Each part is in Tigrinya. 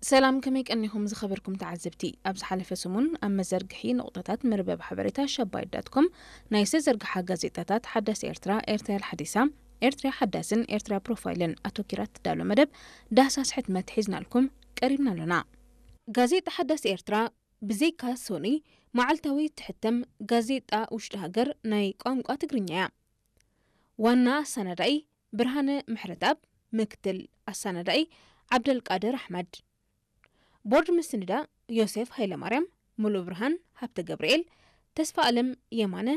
ሰላም፣ ከመይ ቀኒኹም ዝኸበርኩም ተዓዘብቲ? ኣብ ዝሓለፈ ሰሙን ኣብ መዘርግሒ ነቑጣታት መርበብ ሓበሬታ ሸባይት ዳት ኮም ናይ ዝተዘርግሓ ጋዜጣታት ሓዳስ ኤርትራ፣ ኤርትራ ሓዲሳ፣ ኤርትራ ሓዳስን ኤርትራ ፕሮፋይልን ኣተኪራ ትዳሎ መደብ ዳህሳስ ሕትመት ሒዝናልኩም ቀሪብና ኣሎና። ጋዜጣ ሓዳስ ኤርትራ ብዘይካ ሶኒ መዓልታዊ ትሕተም ጋዜጣ ውሽጢ ሃገር ናይ ቋንቋ ትግርኛ እያ። ዋና ኣሰናዳኢ ብርሃነ ምሕረትኣብ፣ ምክትል ኣሰናዳኢ ዓብደልቃድር ኣሕመድ፣ ቦርድ ምስንዳ ዮሴፍ ሃይለማርያም፣ ሙሉእ ብርሃን ሃብተ ገብርኤል፣ ተስፋ ኣለም የማነ፣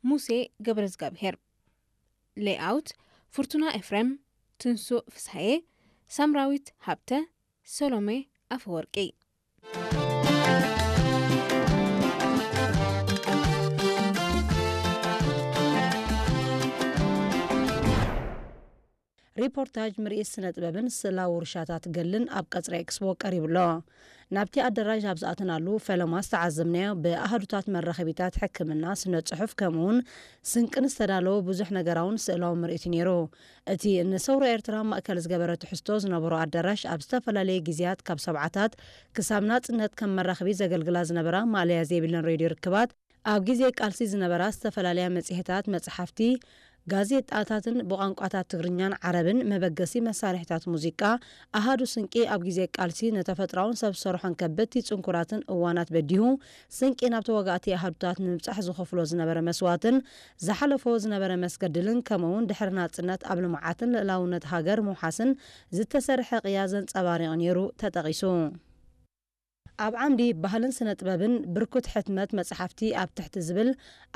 ሙሴ ገብረዝጋብሄር፣ ሌይኣውት ፍርቱና ኤፍሬም፣ ትንሱእ ፍስሃየ፣ ሳምራዊት ሃብተ፣ ሰሎሜ ኣፈወርቂ። ሪፖርታጅ፣ ምርኢት ስነ ጥበብን ስእላዊ ውርሻታት ገልን ኣብ ቀጽሪ ኤክስፖ ቀሪቡ ኣሎ። ናብቲ ኣደራሽ ኣብ ዝኣተናሉ ፈለማ ዝተዓዘብናዮ ብኣሃዱታት መራኸቢታት ሕክምና፣ ስነ ጽሑፍ፣ ከምኡውን ስንቅን ዝተዳለወ ብዙሕ ነገራውን ስእላዊ ምርኢት እዩ ነይሩ። እቲ ንሰውራ ኤርትራ ማእከል ዝገበረ ትሕዝቶ ዝነበሮ ኣዳራሽ፣ ኣብ ዝተፈላለየ ግዜያት ካብ ሰብዓታት ክሳብ ናጽነት ከም መራኸቢ ዘገልግላ ዝነበራ ማእለያ ዘይብለን ሬድዮ ርክባት፣ ኣብ ግዜ ቃልሲ ዝነበራ ዝተፈላለያ መጽሔታት፣ መጽሓፍቲ፣ ጋዜጣታትን ብቋንቋታት ትግርኛን ዓረብን መበገሲ መሳርሒታት ሙዚቃ፣ ኣሃዱ ስንቂ፣ ኣብ ግዜ ቃልሲ ንተፈጥሮኣውን ሰብ ዝሰርሖን ከበድቲ ጽንኩራትን እዋናት በዲሁ፣ ስንቂ ናብ ተዋጋእቲ ኣሃዱታት ንምብጻሕ ዝኸፍሎ ዝነበረ መስዋእትን ዝሓለፎ ዝነበረ መስገድልን፣ ከምኡውን ድሕሪ ናጽነት ኣብ ልምዓትን ልእላውነት ሃገር ምውሓስን ዝተሰርሐ ቅያ ዘንጸባሪቕ ነይሩ ተጠቒሱ። ኣብ ዓምዲ ባህልን ስነ ጥበብን ብርኩት ሕትመት መጽሓፍቲ ኣብ ትሕቲ ዝብል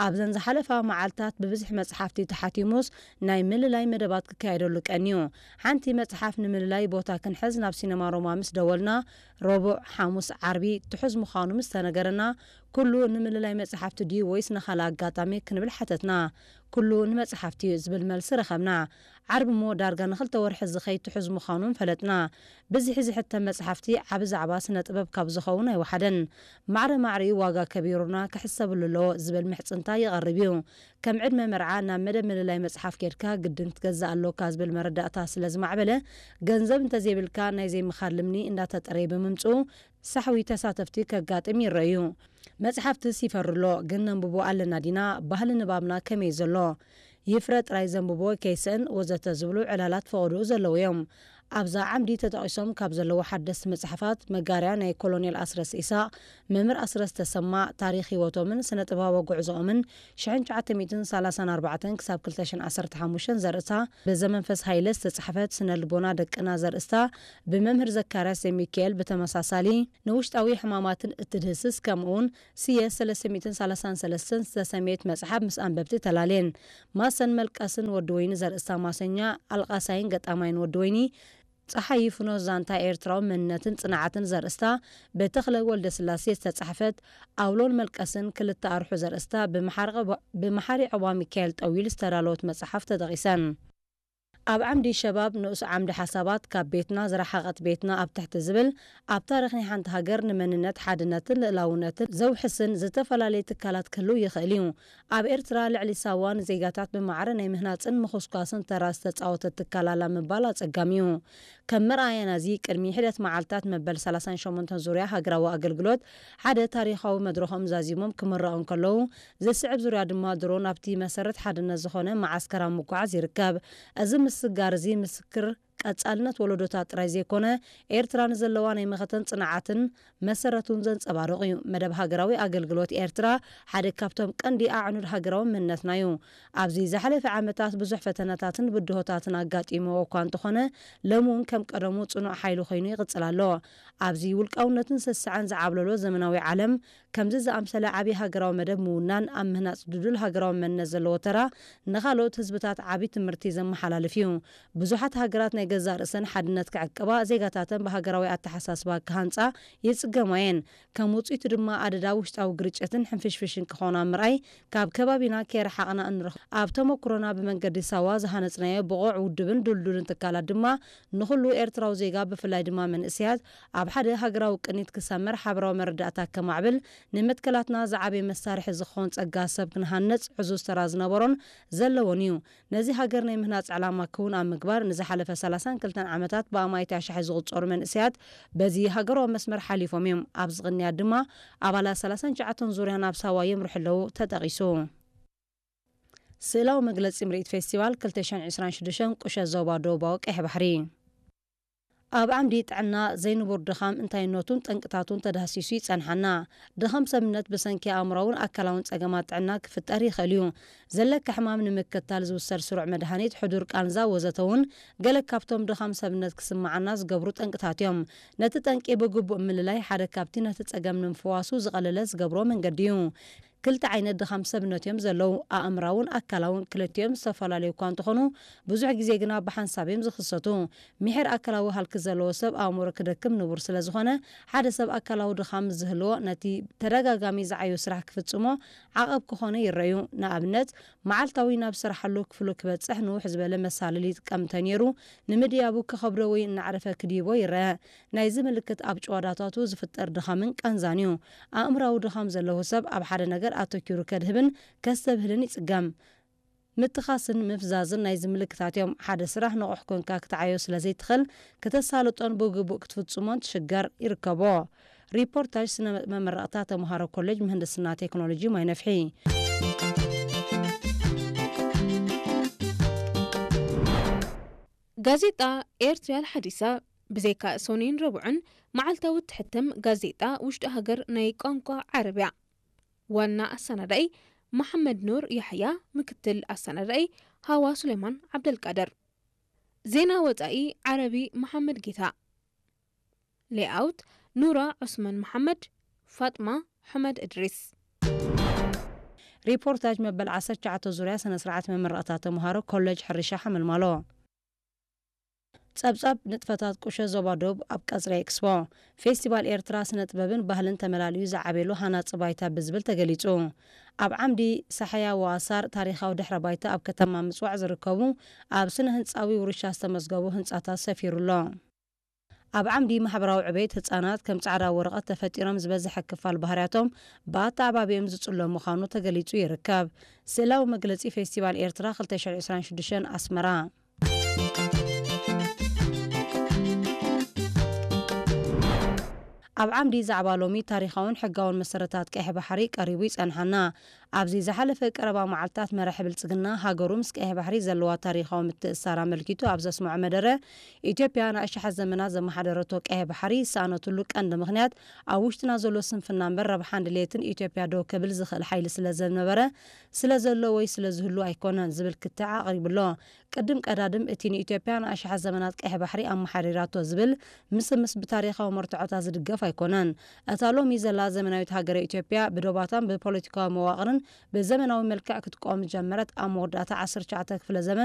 ኣብዘን ዝሓለፋ መዓልታት ብብዝሒ መጽሓፍቲ ተሓቲሙስ ናይ ምልላይ መደባት ክካየደሉ ቀንዩ። ሓንቲ መጽሓፍ ንምልላይ ቦታ ክንሕዝ ናብ ሲነማ ሮማ ምስ ደወልና፣ ረቡዕ፣ ሓሙስ፣ ዓርቢ ትሑዝ ምዃኑ ምስ ተነገረና፣ ኩሉ ንምልላይ መጽሓፍቲ ድዩ ወይስ ንኻልእ ኣጋጣሚ ክንብል ሓተትና። ኩሉ ንመጽሓፍቲ እዩ ዝብል መልሲ ረኸብና። ዓርቢ እሞ ዳርጋ ንኽልተ ወርሒ ዝኸይድ ትሑዝ ምዃኑን ፈለጥና። ብዝሒ ዝሕተም መጽሓፍቲ ዓቢ ዛዕባ ስነ ጥበብ ካብ ዝኸውን ኣይወሓደን። ማዕረ ማዕሪኡ ዋጋ ከቢሩና ክሕሰብሉ ኣለዎ ዝብል ምሕጽንታ ይቐርብ እዩ። ከም ዕድመ መርዓ ናብ መደብ ምልላይ መጽሓፍ ኬድካ ግድን ክትገዝእ ኣሎካ ዝብል መረዳእታ ስለ ዝማዕበለ፣ ገንዘብ እንተዘይብልካ ናይ ዘይምኻድ ልምኒ እንዳተጠረየ ብምምጽኡ፣ ሳሕዊ ተሳተፍቲ ከጋጥም ይረኣዩ። መጽሓፍትስ ይፈሪ ኣሎ፣ ግን ነንብቦ ኣለና ዲና? ባህሊ ንባብና ከመይ ዘሎ? ይፍረ ጥራይ ዘንብቦ ከይስእን ወዘተ ዝብሉ ዕላላት ፈቐድኡ ዘለዉ እዮም። ኣብዛ ዓምዲ ተጠቒሶም ካብ ዘለዉ ሓደስቲ መጽሓፋት፣ መጋርያ ናይ ኮሎኔል ኣስረስ ኢሳቕ፣ መምህር ኣስረስ ተሰማ፣ ታሪኽ ህይወቶምን ስነ ጥበባዊ ጉዕዞኦምን ሽሕን ትሽዓተ ሚእትን ሰላሳን ኣርባዕተን ክሳብ ክልተ ሽሕን ዓሰርተ ሓሙሽተን ዘርእስታ፣ ብዘመንፈስ ሃይለ ዝተጻሕፈት ስነ ልቦና ደቅና ዘርእስታ ብመምህር ዘካርያስ ዘሚካኤል ብተመሳሳሊ ንውሽጣዊ ሕማማትን እትድህስስ ከምኡውን ስየ ሰለስተ ሚእትን ሰላሳን ሰለስተን ዝተሰምየት መጽሓፍ ምስ ኣንበብቲ ተላልየን። ማሰን መልቀስን ወዲ ወይኒ ዘርእስታ ማሰኛ ኣልቃሳይን ገጣማይን ወዲ ወይኒ፣ ጸሓይ ይፍኖ ዛንታ ኤርትራዊ መንነትን ጽንዓትን ዘርእስታ ብተኽለ ወልደስላሴ ዝተጻሕፈት ኣውሎን መልቀስን ክልተ ኣርሑ ዘርእስታ ብመሓሪ ዕዋ-፣ ብመሓሪ ዕዋ ሚካኤል ጠዊል ዝተዳለወት መጽሓፍ ተጠቒሰን። ኣብ ዓምዲ ሸባብ ንኡስ ዓምዲ ሓሳባት ካብ ቤትና ዝረሓቐት ቤትና ኣብ ትሕቲ ዝብል ኣብ ታሪኽ ናይ ሓንቲ ሃገር ንመንነት ሓድነትን ልእላውነትን ዘውሕስን ዝተፈላለየ ትካላት ክህልው ይኽእል እዩ። ኣብ ኤርትራ ልዕሊ ሳዋ ንዜጋታት ብማዕረ ናይ ምህናጽን ምኹስኳስን ተራ ዝተጻወተት ትካል ኣላ ምባል ኣጸጋሚ እዩ። ከም መርኣያ ናዚ ቅድሚ ሕደት መዓልታት መበል ሰላሳን ሸሞንተን ዙርያ ሃገራዊ ኣገልግሎት ሓደ ታሪኻዊ መድረኾም ዛዚሞም ክምረቑ እንከለዉ፣ ዝስዕብ ዙርያ ድማ ድሮ ናብቲ መሰረት ሓድነት ዝኾነ መዓስከር ኣብ ምጉዓዝ ይርከብ። እዚ ምስጋር እዚ ምስክር ቀጻልነት ወለዶታት ጥራይ ዘይኮነ፣ ኤርትራ ንዘለዋ ናይ መኸተን ጽንዓትን መሰረት እውን ዘንጸባርቕ እዩ። መደብ ሃገራዊ ኣገልግሎት ኤርትራ ሓደ ካብቶም ቀንዲ ኣዕኑድ ሃገራዊ መንነትና እዩ። ኣብዚ ዝሓለፈ ዓመታት ብዙሕ ፈተነታትን ብድሆታትን ኣጋጢምዎ እኳ እንተኾነ፣ ሎሚ እውን ከም ቀደሙ ጽኑዕ ሓይሊ ኮይኑ ይቕጽል ኣሎ። ኣብዚ ውልቃውነትን ስስዐን ዝዓብለሎ ዘመናዊ ዓለም፣ ከምዚ ዝኣምሰለ ዓቢ ሃገራዊ መደብ ምውናን ኣብ ምህናጽ ድዱል ሃገራዊ መንነት ዘለዎ ተራ ንኻልኦት ህዝብታት ዓቢ ትምህርቲ ዘመሓላልፍ እዩ። ብዙሓት ሃገራት ናይ ገዛእ ርእሰን ሓድነት ክዕቅባ፣ ዜጋታተን ብሃገራዊ ኣተሓሳስባ ክሃንጻ ይጽገማ እየን። ከም ውጽኢቱ ድማ ኣደዳ ውሽጣዊ ግርጭትን ሕንፍሽፍሽን ክኾና ምርኣይ ካብ ከባቢና ከይረሓቕና እንረኽቦ። ኣብ ተመኩሮና ብመንገዲ ሳዋ ዝሃነጽናዮ ብቑዕ ውድብን ድልዱልን ትካላት ድማ ንኹሉ ኤርትራዊ ዜጋ ብፍላይ ድማ መንእሰያት ኣብ ሓደ ሃገራዊ ቅኒት ክሰምር ሓበራዊ መረዳእታ ከማዕብል ንመትከላትና ዝዓበየ መሳርሒ ዝኸውን ጸጋ ሰብ ክንሃንጽ ዕዙዝ ተራ ዝነበሮን ዘለዎን እዩ። ነዚ ሃገር ናይ ምህናጽ ዕላማ ክውን ኣብ ምግባር ንዝሓለፈ ሰላሳን ክልተን ዓመታት ብኣማኢት ኣሽሓት ዝቑጸሩ መንእሰያት በዚ ሃገራዊ መስመር ሓሊፎም እዮም። ኣብዚ ቅንያት ድማ ኣባላት ሰላሳን ትሽዓተን ዙርያ ናብ ሳዋ የምርሑ ኣለዉ ተጠቒሱ። ስእላዊ መግለጺ ምርኢት ፌስቲቫል ክልተ ሽሕን ዕስራን ሽዱሽተን ቁሸት ዞባ ደቡባዊ ቀይሕ ባሕሪ። ኣብ ዓምዲ ጥዕና፣ ዘይንቡር ድኻም እንታይነቱን ጠንቅታቱን ተዳህሲሱ ይጸንሓና። ድኻም ሰብነት ብሰንኪ ኣእምራውን ኣካላውን ጸገማት ጥዕና ክፍጠር ይኽእል እዩ። ዘለካ ሕማም ንምክትታል ዝውሰድ ስሩዕ መድሃኒት፣ ሕዱር ቃንዛ ወዘተ እውን ገለ ካብቶም ድኻም ሰብነት ክስምዓና ዝገብሩ ጠንቅታት እዮም። ነቲ ጠንቂ ብግቡእ ምልላይ ሓደ ካብቲ ነቲ ጸገም ንምፍዋሱ ዝቐለለ ዝገብሮ መንገዲ እዩ። ክልተ ዓይነት ድኻም ሰብነት እዮም ዘለዉ፣ ኣእምራውን ኣካላውን። ክልቲኦም ዝተፈላለዩ እኳ እንተኾኑ፣ ብዙሕ ግዜ ግና ብሓንሳብ እዮም ዝኽሰቱ። ምሒር ኣካላዊ ሃልኪ ዘለዎ ሰብ ኣእምሮ ክደክም ንቡር ስለ ዝኾነ፣ ሓደ ሰብ ኣካላዊ ድኻም ምስ ዝህልዎ፣ ነቲ ተደጋጋሚ ዝዓዩ ስራሕ ክፍጽሞ ዓቐብ ክኾነ ይረኣዩ። ንኣብነት፣ መዓልታዊ ናብ ዝሰርሓሉ ክፍሉ ክበጽሕ ንውሕ ዝበለ መሳልል ይጥቀም እንተነይሩ፣ ንምድያቡ ክኸብዶ ወይ እናዕረፈ ክድይቦ ይረአ። ናይዚ ምልክት ኣብ ጭዋዳታቱ ዝፍጠር ድኻምን ቃንዛን እዩ። ኣእምራዊ ድኻም ዘለዎ ሰብ ኣብ ሓደ ነገር ኣተኪሩ ከድህብን ከስተብህልን ይጽገም። ምትኻስን ምፍዛዝን ናይዚ ምልክታት እዮም። ሓደ ስራሕ ንቑሕ ኮንካ ክትዓዮ ስለ ዘይትኽእል፣ ክተሳልጦን ብግቡእ ክትፍጽሞን ትሽገር ይርከቦ። ሪፖርታጅ ስነ መመረቕታ ተምሃሮ ኮሌጅ ምህንድስና ቴክኖሎጂ ማይ ነፍሒ። ጋዜጣ ኤርትርያ ሓዲሳ ብዘይካ ሰኑይን ረቡዕን መዓልታዊ እትሕተም ጋዜጣ ውሽጢ ሃገር ናይ ቋንቋ ዓረብያ። ዋና ኣሰናዳኢ መሓመድ ኑር ያሕያ፣ ምክትል ኣሰናዳኢ ሃዋ ሱሌማን ዓብደልቃድር። ዜና ወጻኢ ዓረቢ መሓመድ ጌታ። ሌኣውት ኑራ ዑስማን መሓመድ፣ ፋጥማ ሑመድ እድሪስ። ሪፖርታጅ መበል ዓሰርተ ትሽዓተ ዙርያ ስነ ስርዓት መመረቕታ ተምሃሮ ኮሌጅ ሕርሻ ሓመልማሎ። ጸብጻብ ንጥፈታት ቁሸ ዞባ ዶብ ኣብ ቀጽሪ ኤክስፖ። ፌስቲቫል ኤርትራ ስነ ጥበብን ባህልን ተመላሊኡ ዝዓቤሉ ሃናጺ ባይታ ብዝብል ተገሊጹ። ኣብ ዓምዲ ሳሕያ ወኣሳር ታሪኻዊ ድሕረ ባይታ ኣብ ከተማ ምጽዋዕ ዝርከቡ ኣብ ስነ ህንጻዊ ውርሻ ዝተመዝገቡ ህንጻታት ሰፊሩ ኣሎ። ኣብ ዓምዲ ማሕበራዊ ዕቤት ህጻናት ከም ጻዕዳ ወረቐት ተፈጢሮም ዝበዝሐ ክፋል ባህርያቶም ብኣተዓባቢኦም ዝጽሎ ምዃኑ ተገሊጹ ይርከብ። ስእላዊ መግለጺ ፌስቲቫል ኤርትራ ክልተ ሽሕን ዕስራን ሽዱሽተን ኣስመራ። ኣብ ዓምዲ ዛዕባ ሎሚ ታሪኻውን ሕጋውን መሰረታት ቀይሕ ባሕሪ ቀሪቡ ይጸንሓና። ኣብዚ ዝሓለፈ ቀረባ መዓልታት መራሒ ብልጽግና ሃገሩ ምስ ቀይሕ ባሕሪ ዘለዋ ታሪኻዊ ምትእስሳር ኣመልኪቱ ኣብ ዘስምዖ መደረ፣ ኢትዮጵያ ንኣሽሓት ዘመናት ዘመሓደረቶ ቀይሕ ባሕሪ ዝሰኣነትሉ ቀንዲ ምኽንያት ኣብ ውሽጥና ዘሎ ስንፍና እምበር ረብሓን ድሌትን ኢትዮጵያ ደው ከብል ዝኽእል ሓይሊ ስለ ዘነበረ፣ ስለ ዘሎ ወይ ስለ ዝህሉ ኣይኮነን ዝብል ክትዕ ኣቕሪቡ ኣሎ። ቅድም ቀዳድም እቲ ንኢትዮጵያ ንኣሽሓት ዘመናት ቀይሕ ባሕሪ ኣመሓዲራቶ ዝብል ምስምስ ብታሪኻዊ መርትዖታት ዝድገፍ ኣይኮነን። እታ ሎሚ ዘላ ዘመናዊት ሃገረ ኢትዮጵያ ብዶባታን ብፖለቲካዊ መዋቕርን ብዘመናዊ መልክዕ ክትቆም ዝጀመረት ኣብ መወዳእታ ዓሰርተ ትሽዓተ ክፍለ ዘመን